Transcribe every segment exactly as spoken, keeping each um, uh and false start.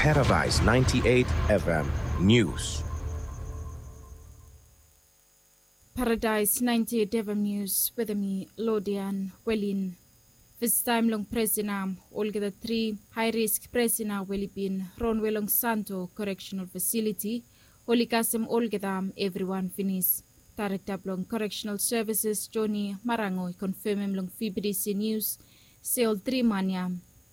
Paradise ninety-eight F M News. Paradise ninety-eight F M News wetem mi Lodian Welin. Festaem long presena olgeta tri hae risk presena we oli bin ronwe long Santo Correctional Facility oli kasem olgeta evriwan finis. Daerekta blong Correctional Services Joni Marango i konfemem long V B D C News se ol tri man ya,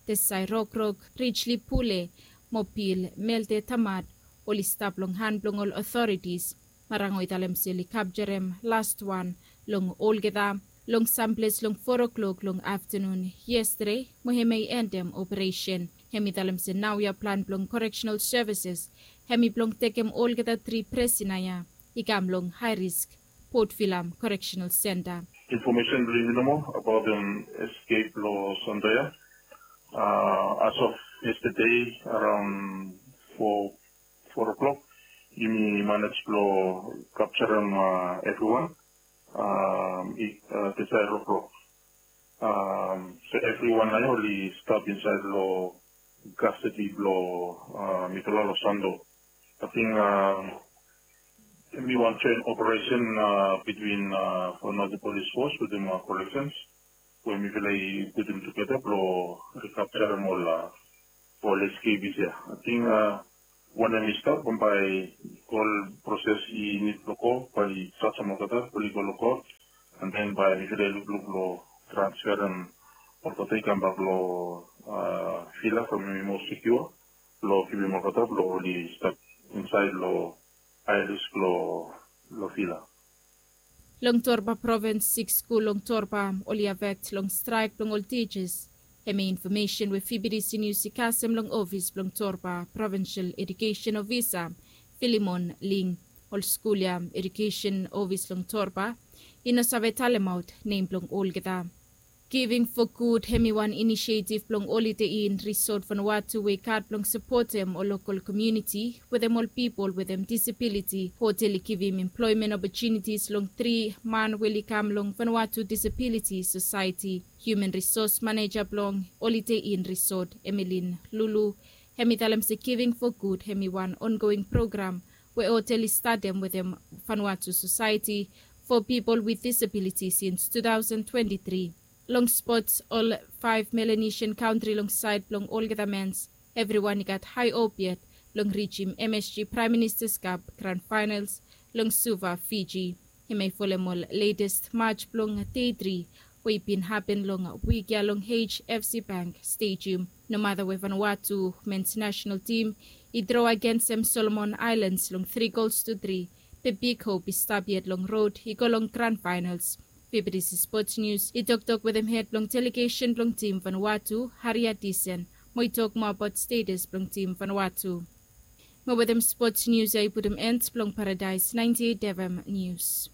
Desai Rokrok, Richly Pule mo Pil Melde Tamad, oli stap long han blong ol otoritis. Marango i talem se oli kapjarem lastwan long olgeta long samples long foa klok long aftanun yestade mo hemia i endem operesen. Hem i talem se naoia plan blong Correctional Services hem i blong tekem olgeta tri presena ya i kam long hae risk Port Vila Correctional Centre. Infomesen blong yumi nomo abaotem eskep blong Santa ya. As of yestade araon foa foa klok yumi manej blong kapjarem evriwan. Desai Rokrok. So evriwan nao ya oli stap insaed long kastadi blong mifala long Sando. Ating hemi wan joen operesen bitwin Vanuatu Polis Fos wetem Koreksens we mifala i putum tugeta blong rikapjarem ol ol eskepis ya. Ating wanem i stap bambae ol proses i nid blong go bae i jasem olgeta oli go long kot. An den bae mifala i lukluk blong transferem olgeta i kambak long vila from hemi moa sekiua blong givim olgeta blong oli stap insaed long hae risk long long vila. Long Torba provins siks skul long Torba oli afekt long straek blong ol tijas. Hemia infomesen we V B D C News i kasem long ofis blong Torba provinsel edukesen ofisa Filimon Ling. Ol skul ya edukesen ofis long Torba i no save talemaot nem blong olgeta. Giving for Good hemi wan inisietiv blong Holiday Inn Resort Vanuatu we i gat blong sapotem ol lokol komuniti wetem ol pipol wetem disabiliti. Hotel i givim emploemen opotunitis long tri man we oli kam long Vanuatu Disabiliti Sosaeti. Human Resource Maneja blong Holiday Inn Resort, Emelin Lulu, hemi talem se Giving for Good hemi wan ongoing program we hotel i statem wetem Vanuatu Sosaeti for pipol wit disabiliti sins two thousand twenty-three. Long spots, ol faef Melanesian kantri long saed blong olgeta mens, evriwan i gat hae hop yet blong rijim M S G Praem Ministas Kap gran faenals long Suva, Fiji. Hemia i folem ol letes maj blong dei tri we i bin hapen long wik ya long H F C Bank Stadium. Nomata we Vanuatu mens nasenal tim i dro agensem Solomon Aelans long tri gols tu tri, be big hop i stap yet long rod i go long gran faenals. V B D C Sports News i toktok wetem hed blong delegesen blong tim Vanuatu, Haria Disen, mo i tok moa abaot stetas blong tim Vanuatu. Mo wetem spots nius ya i putum end blong Paradaes ninety eight F M Nius.